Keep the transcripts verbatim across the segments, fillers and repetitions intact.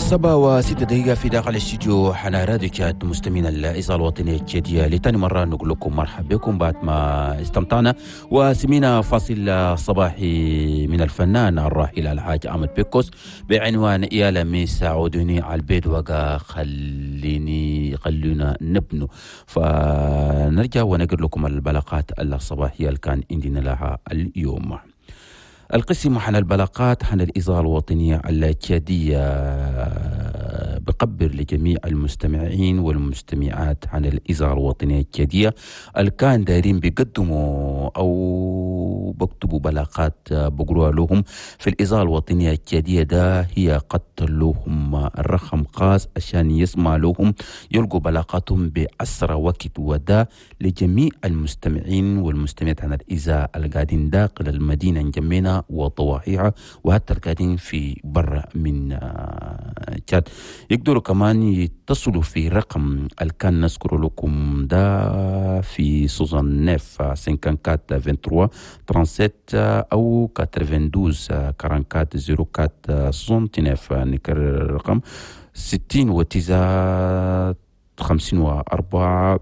سبعة وستة دقيقة في داخل الاستوديو حنا راديو تشاد. مستمعين الإذاعة الوطنية التشادية، لتاني مرة نقول لكم مرحبا بكم بعد ما استمتعنا وسمينا فاصل صباحي من الفنان الراحل الحاج أحمد بيكوس بعنوان يا لميس عودوني على البيت وقا خليني خلونا نبنو. فنرجع ونقر لكم البلاغات الصباحية اللي كان عندنا لها اليوم. القسم عن البلاغات عن الإذاعة الوطنية التشادية بقبر لجميع المستمعين والمستمعات عن الإذاعة الوطنية التشادية اللي كان دايرين بيقدموا أو بكتبوا بلاغات بقروها لهم في الإذاعة الوطنية التشادية. ده هي قد لهم الرقم خاص عشان يسمع لهم يلقوا بلاغاتهم بأسرع وقت، وده لجميع المستمعين والمستمعات عن الإذاعة القاعدين داخل المدينة نجمينا وضواحيها وحتى القاعدين في برا من تشاد. يقدروا كمان يتصلوا في رقم اللي كان نذكر لكم ده في soixante-neuf cinquante-quatre vingt-trois trente-sept أو quatre-vingt-douze quarante-quatre zéro quatre soixante-neuf. نكرر الرقم ستين وتسعة خمسين وأربعة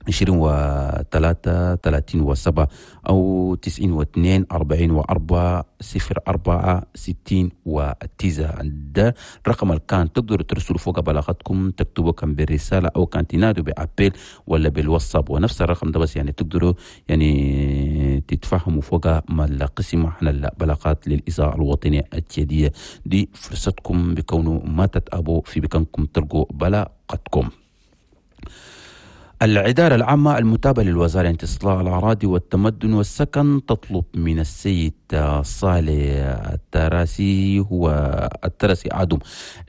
عشرين وثلاثة ثلاثين وسبعة أو تسعين واثنين أربعين وأربعة صفر أربعة ستين وتسعة. ده رقم اللي كان تقدروا ترسلوا فوق بلاغاتكم، تكتبوا كان بالرسالة أو كان تنادوا ب appel ولا بالواتساب، ونفس الرقم ده بس يعني تقدروا يعني تتفهموا فوق ما القسم احنا البلاغات للإذاعة الوطنية التشادية. دي فرصتكم بكونه ما تتأبوا في بكانكم تلقوا بلاغتكم. الإدارة العامة المتابعة للوزارة استصلاح الأراضي والتمدن والسكن تطلب من السيد صالح التراسي، هو التراسي عدم،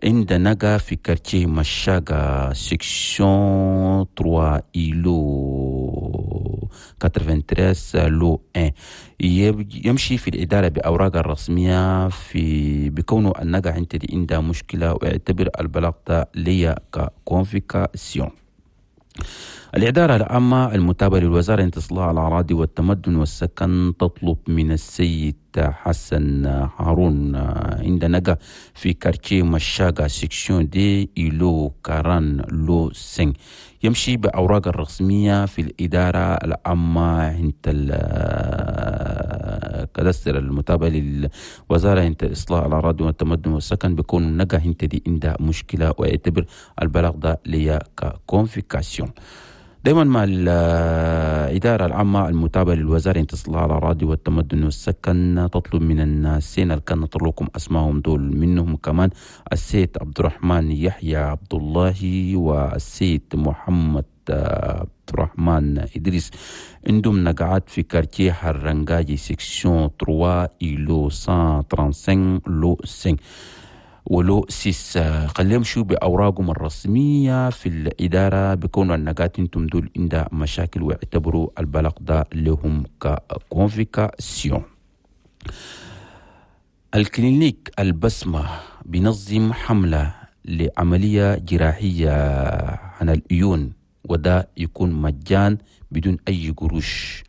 عند نقا في quartier مشاقة section trois îlot quatre-vingt-treize lot واحد، يمشي في الإدارة بأوراق الرسمية في بكونه النقا عند عندها مشكلة ويعتبر البلاغ ليا ك convocation. الإدارة العامة المتابعة للوزارة استصلاح الأراضي والتمدن والسكن تطلب من السيد حسن هارون عند نقا في quartier مشاقة section deux îlot quarante lot cinq، يمشي بأوراق الرسمية في الإدارة العامة عند ال cadastre المتابعة للوزارة عند إصلاح الأراضي والتمدن والسكن بيكون نقا انت دي عندها مشكلة ويعتبر البلاغ ده ليا ك convocation. دائما مع الإدارة العامة المتابعة للوزارة استصلاح الأراضي والتمدن والسكن تطلب من الناسين اللي كان لكم أسمائهم دول، منهم كمان السيد عبد الرحمن يحيى عبد الله والسيد محمد عبد الرحمن إدريس، عندهم نقعات في quartier حرنجاجي section trois îlot cent trente-cinq lot cinq و lot six. خليهم شو بأوراقهم الرسمية في الإدارة بيكونوا النقات انتم دول عندها مشاكل واعتبروا البلاغ ده لهم ك convocation. ال clinique البسمة بينظم حملة لعملية جراحية عن العيون، وده يكون مجان بدون أي قروش.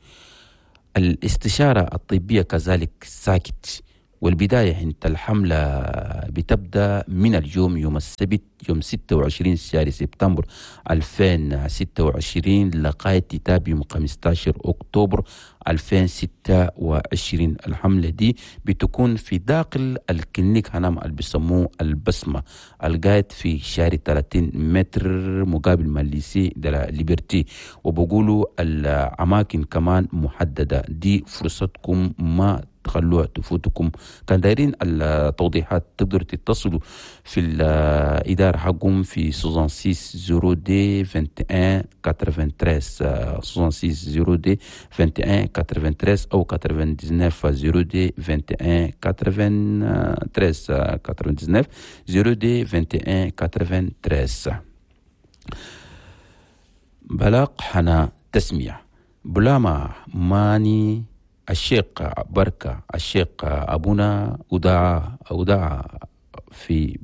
الاستشارة الطبية كذلك ساكت، والبداية عند الحملة بتبدأ من اليوم يوم السبت يوم ستة وعشرين شهر سبتمبر ألفين وستة وعشرين لغاية تتابع يوم خمستاشر أكتوبر ألفين وستة وعشرين. الحملة دي بتكون في داخل ال clinique هنام اللي بيسموه البسمة القاعد في شارع ثلاثين متر مقابل ما lycée de la Liberté، وبقولوا الأماكن كمان محددة. دي فرصتكم ما تخلوها تفوتكم. كان دايرين التوضيحات تقدروا تتصلوا في الإدارة حقهم في soixante-six zéro deux vingt et un quatre-vingt-treize soixante-six zéro deux vingt et un quatre-vingt-treize أو quatre-vingt-dix-neuf zéro deux vingt et un quatre-vingt-treize quatre-vingt-dix-neuf zéro deux vingt et un quatre-vingt-treize. بلاغ حنا تسمية بلاما ماني الشيخ بركة الشيخ أبونا وداع وداع في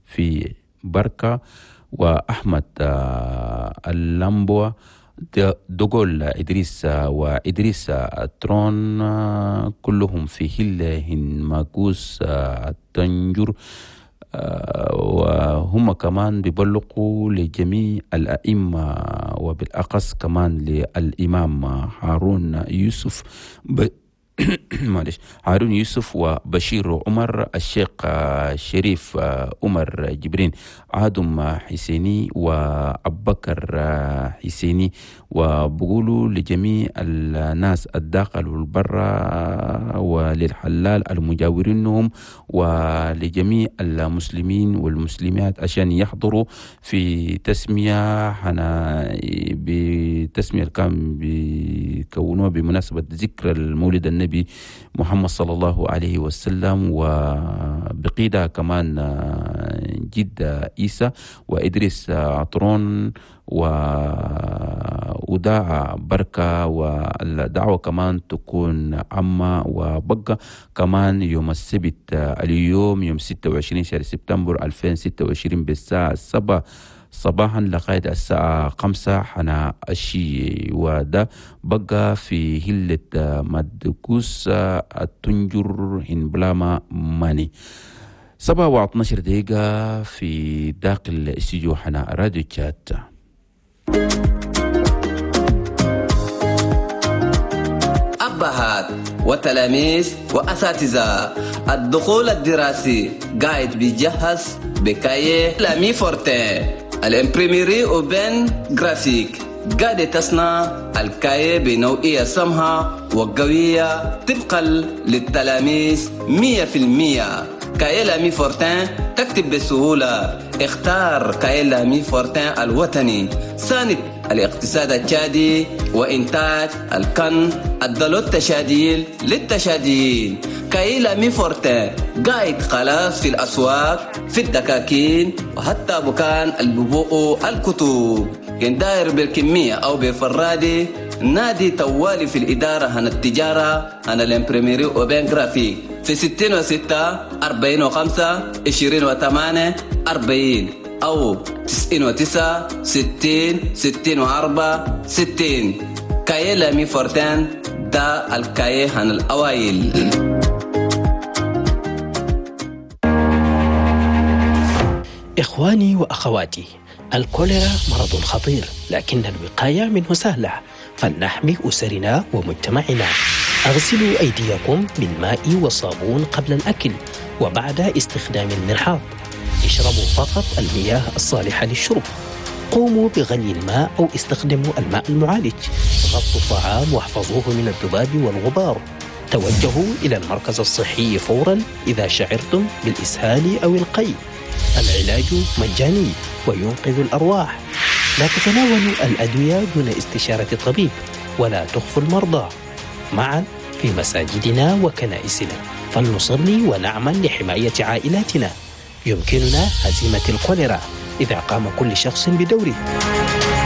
في بركة، وأحمد اللامبو دوغول إدريس وإدريس ترون كلهم في هلهن ماكوس التنجر. وهم كمان بيبلغوا لجميع الأئمة وبالأخص كمان للإمام هارون يوسف ب... معلش هارون يوسف وبشير عمر، الشيخ شريف عمر جبرين، آدم حسيني وأبكر حسيني، وبقولوا لجميع الناس الداخل والبرة وللحلال المجاورينهم ولجميع المسلمين والمسلمات عشان يحضروا في تسمية حنا بتسمية كان بيكونوها بمناسبة ذكر المولد النبي محمد صلى الله عليه وسلم، وبقيدة كمان جد عيسى وإدريس عطرون وداع بركة، والدعوة كمان تكون عامة. وبقى كمان يوم السبت اليوم يوم ستة وعشرين شهر سبتمبر ألفين وستة وعشرين بالساعة سبعة صباحا لغاية الساعة خمسة حنا الشي، وده بقى في هلة مدكوس التنجر هنبلاما ماني. سبعة واثناشر دقيقة في داخل استوديو حنا راديو تشات. أبهات وتلاميذ وأساتذة، الدخول الدراسي قاعد بيجهز ب cahiers Lamy Fortin ال imprimerie Open Graphique قاعدة تصنع ال cahiers بنوعية سمحة وقوية طبقا للتلاميذ مية في المية. cahiers Lamy Fortin تكتب بسهولة. اختار cahiers Lamy Fortin الوطني، ساند الاقتصاد التشادي وإنتاج الكن الدلو التشاديل للتشاديين. cahiers Lamy Fortin قاعد خلاص في الأسواق، في الدكاكين، وحتى بكان الببوء الكتب. كان داير بالكمية أو بفرادي نادي توالي في الإدارة هن التجارة هن ال imprimerie Open Graphique في ستين وستة أربعين وخمسة عشرين وثمانية أربعين أو تسعين وتسعة ستين ستين وأربعة ستين. cahiers Lamy Fortin دا ال cahier هن الأوائل. إخواني وأخواتي، الكوليرا مرض خطير، لكن الوقاية منه سهلة، فلنحمي أسرنا ومجتمعنا. أغسلوا أيديكم بالماء والصابون قبل الأكل وبعد استخدام المرحاض. اشربوا فقط المياه الصالحة للشرب. قوموا بغلي الماء أو استخدموا الماء المعالج. غطوا الطعام واحفظوه من الذباب والغبار. توجهوا إلى المركز الصحي فورا إذا شعرتم بالإسهال أو القيء. العلاج مجاني وينقذ الأرواح. لا تتناولوا الأدوية دون استشارة الطبيب، ولا تخفوا المرضى. معا في مساجدنا وكنائسنا فلنصلي ونعمل لحماية عائلاتنا. يمكننا هزيمة الكوليرا إذا قام كل شخص بدوره.